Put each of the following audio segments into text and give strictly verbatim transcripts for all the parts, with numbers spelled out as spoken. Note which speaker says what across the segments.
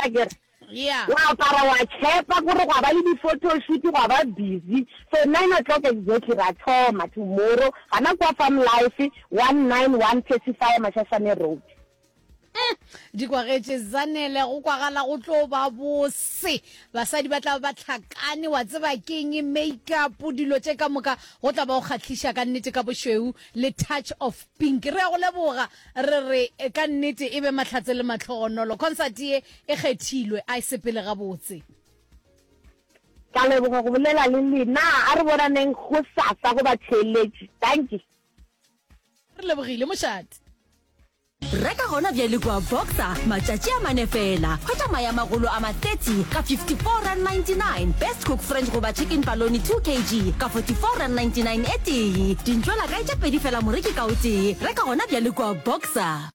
Speaker 1: akere
Speaker 2: Yeah.
Speaker 1: Wa apara wa tshepa gore gwa ba le di-photoshoot gwa ba busy so nine o'clock exactly ra thoma tomorrow gana kwa farm life one nine one Pacifier Mashashane road
Speaker 2: Mm, di kwagetše zanele go kwagala go tlo ba bose basadi ba tla ba tlhakane wa tseba keng makeup dilo tše ka moka go tla ba go kgahliša ka nnete ka bošweu le touch of pink re ya go leboga re re eh, ka nnete e be mahlatse le matlhogonolo concert ye e kgethilwe a e sepele gabotse
Speaker 1: ka leboga go bolela le lena a re bonaneng go sasa go batheeletši thank you
Speaker 2: re lebogile mošate
Speaker 3: Reka gona bjale kua Boxer matšatši a mane fela. Hwetša mae a magolo a ma thirty ka fifty-four rand ninety-nine, Best Cook French goba Chicken Paloni two kg ka forty-four rand ninety-nine e tee. Dintšwela kae tše pedi fela moreki ka o tee. Reka gona bjale kua Boxer.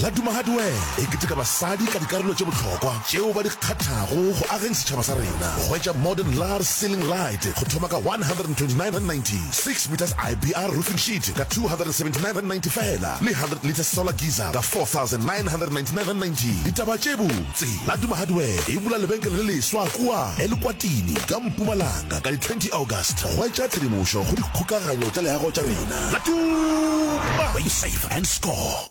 Speaker 4: Laduma Hardware e keteka basadi ka dikarolo tše bohlokwa tšeo ba di kgathago go ageng setšhaba sa rena. Hwetša modern lar ceiling light go thoma ka one hundred and twenty nine rand ninety, six meters I B R roofing sheet ka two hundred and seventy nine rand ninety fela, le hundred litre solar geyser ka four thousand nine hundred and ninety nine rand ninety. Ditaba tše botse, Laduma Hardware e bula lebenkele le leswa kua Elukwatini ka Mpumalanga ka di twenty August. Hwetša tshedimošo go dikgokaganyo tša leago tša rena. Laduma, where you save and score.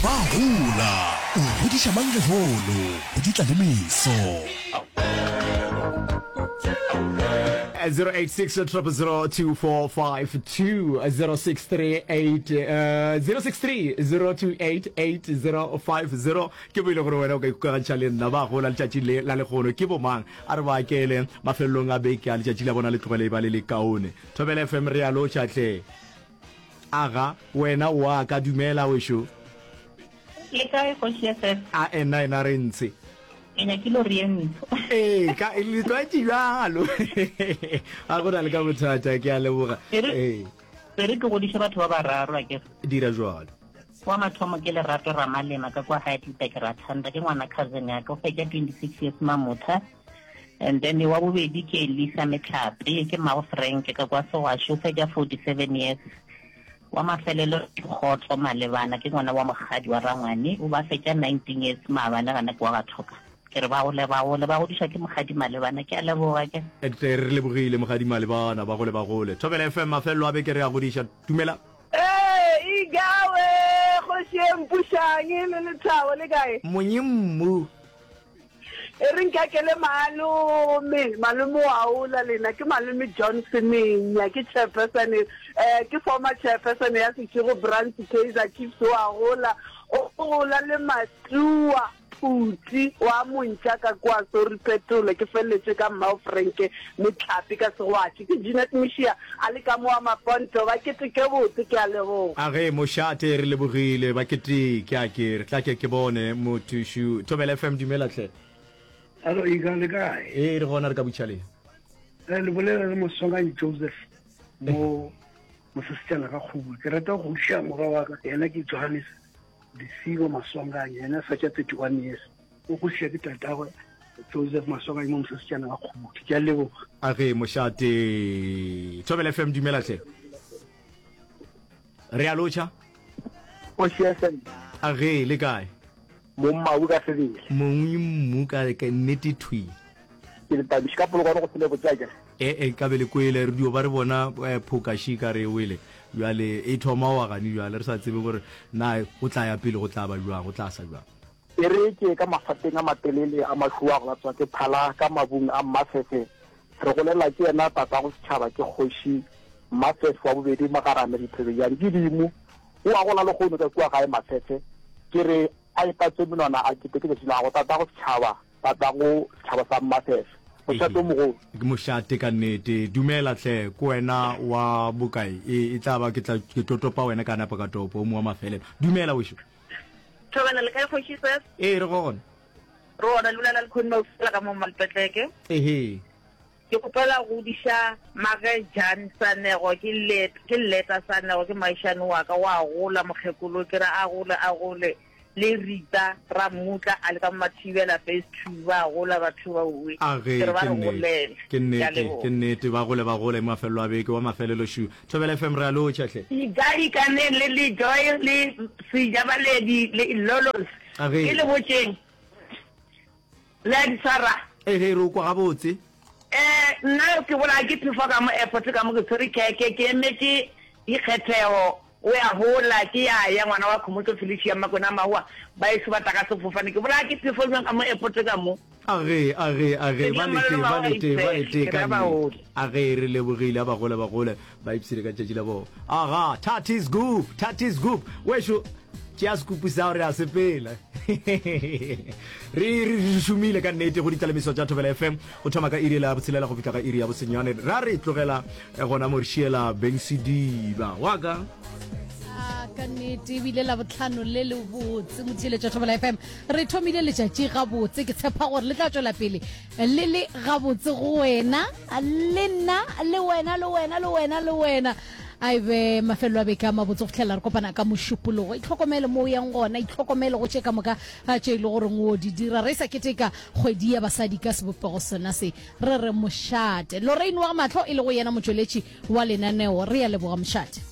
Speaker 5: Ba gola, o godiša mang lehono, go di tla le meso.
Speaker 6: zero eight six triple zero two four five two zero six three eight uh, zero six three zero two eight eight zero five zero ke bo ile gore wena o ka ikgokagantšha le nna ba gola letšatši le la legono ke bomang a re ba akele mafelelong a beke a letšatši la bona le tlogele e ba le le kaone Thobela F M re a lotšha hle aga wena wa ka dumela wešo
Speaker 7: Le kae kgoši S F?
Speaker 6: A ena ena re ntshe.
Speaker 7: Ke nyakile gore ye ntsho.
Speaker 6: Ee, ka le tlwaetše bjalo. Ga go na le ka bothata, ke a leboga.
Speaker 7: E re,
Speaker 6: Ee.
Speaker 7: e re ke godiše batho ba bararo a kere.
Speaker 6: Dira jwalo.
Speaker 7: Wa mathomo ke Lerato Ramalema ka kwa Heidelberg Rathanda, ke ngwana cousin ya ka, o fetša twenty-six years Mamotha. And then wa bobedi ke Elisa Metlhape, ke mmago Frank ka kwa Segwashe, o fetša forty-seven years. Wa mafelelo ke Kgotso Malebana, ke ngwana wa mokgadi wa Rangwane, o ba fetša nineteen years maabane gana ke wa Bathoka. Ke re ba gole, ba gole, ba godišwa ke mokgadi Malebana, ke a leboga ke.
Speaker 6: Tle re lebogile mokgadi Malebana, ba gole, ba gole. Thobela F M, mafelelo a beke re a godiša. Dumela.
Speaker 8: Ee, Igawe, kgoši e mpušang le lethabo le kae?
Speaker 6: Monyemmu.
Speaker 8: E re nkakele malome, malome wa ola lena ke malome John Semenya, ke chairperson, eh, ke former chairperson ya Seshego branch Kaizer Chiefs wa gola, o gola le Matua Phuti wa montša ka kwa sorry Petole, ke feleletše ka mmao Frank Metlhapi ka Segwatši, ke Jeanette Mishia a le ka mo wa Maponto, ba keteke botse, ke a leboga.
Speaker 6: A ge mošate re lebogile ba keteke a ke re tla ke ke bone mothušu Thobela F M dumela hle.
Speaker 9: Hallo Iga le kae?
Speaker 6: Ee re gona re ka butšhaleng.
Speaker 9: Eh, le bolela le Moswanganyi Joseph mo mosesetsana ka kgobo. Ke rata go godiša morwa wa ka, yena ke Johannes Lesiba Maswanganyi, yena fetša thirty-one years. O godiša ke tatagwe Joseph Maswanganyi mo mosesetsana ka kgobo. Ke a leboga.
Speaker 6: A ge mošate Thobela F M dumela hle. Re a lotšha.
Speaker 10: Kgoši F M.
Speaker 6: A ge le kae?
Speaker 10: Mommabu ka sebele.
Speaker 6: Mongwe mmu ka ka nnete thwi.
Speaker 10: Ke le tabiše ka polokwane go sele botse akere.
Speaker 6: E e ka be le kwele re dio ba re bona eh, phoka shi ka re wele. Bjale e thoma wa gane bjale re sa tsebe gore na go tla ya pele go tla ba jwang go tla sa jwang.
Speaker 10: E re ke ka mafateng a matelele a mašoa go latswa ke phala ka mabung a Mmafefe. Re golela ke yena tatago setšhaba ke kgoši Mmafefe wa bobedi Magarame Dithebejane ke dimo. O a gola lehono ka kua gae Mafefe. Ke re a ipatse menwana a keteke letšatši la gago tatago setšhaba, tatago setšhaba sa Mmafefe. Mošate o mogolo.
Speaker 6: Ke mošate ka nnete. Dumela hle, ke wena wa bokae? E, e tla ba ke tla ke tlo topa wena ka napa ka topo o mo wa mafelelo. Dumela wešo.
Speaker 11: Thobela le kae kgoši Seth?
Speaker 6: Ee re gona.
Speaker 11: Re gona le bolela le Khoni Maufela ka mo Malpetleke.
Speaker 6: Ehe.
Speaker 11: Ke kgopela go godiša Mage Jan Sanego, ke let, ke Leta Sanego, ke maišane wa ka, wa gola mokgekolo, ke re a gole a gole. le Rita Ramutla a le ka mo Mathibela phase two ba gola batho ba owe
Speaker 6: A ge,
Speaker 11: ke re ba
Speaker 6: ke
Speaker 11: re
Speaker 6: nnete,
Speaker 11: golele
Speaker 6: ke
Speaker 11: ke a
Speaker 6: nnete,
Speaker 11: leboga.
Speaker 6: ke nnete, ba gole ba gole mafelelo a beke wa mafelelo šu. Thobela F M re a lotšha hle.
Speaker 11: Ikaikaneng le le Joy le Sejabaledi le Lolos
Speaker 6: A ge.
Speaker 11: ke le botšeng le a di tshwara.
Speaker 6: E ge re o kwa gabotse.
Speaker 11: Eh nna ke bolaya ke phefo ka mo airport ka mo ke tshwere khekhe ke emetše dikgethego o ya hola ke ya ya ngwana wa Khomotso Felicia Makwena Mahoa ba eso ba tla ka sefofane ke bolaya ke phefo bjang ka mo airport ka mo.
Speaker 6: A ge a ge a ge
Speaker 11: Ke
Speaker 6: ba
Speaker 11: dula
Speaker 6: lete
Speaker 11: malome
Speaker 6: ba
Speaker 11: wa
Speaker 6: lete ba
Speaker 11: Gaitsele
Speaker 6: lete
Speaker 11: ke
Speaker 6: ka
Speaker 11: ra ba
Speaker 6: nnete
Speaker 11: hole.
Speaker 6: a ge re lebogile a ba gole ba gole ba ipshine ka letšatši la bona aga thathi scoop thathi scoop wešo tšea scoop sa re a sepela re re re šomile ka nnete go ditlalemiso tša Thobela F M go thoma ka iri ya botshelela go fihla ka iri ya bosenyane ra re tlogela eh, gona mo re šiela Beng Sediba wa ka
Speaker 2: Ah, ka nnete ebile la botlhano le le botse motheeletša Thobela F M re thomile letšatši gabotse ke tshepa gore le tla tšwela pele le le gabotse go wena le nna le wena le wena le wena le wena a ebe mafelelo a beke a mabotse go fitlhelela re kopana ka mošupologo itlhokomele mo o yang gona itlhokomele go tše ka moka tše e le goreng o di dira re sa keteka kgwedi ya basadi ka sebopego sona se re re mošate Lorraine wa Mahlo e le go yena motšweletši wa lenaneo re ya leboga mošate.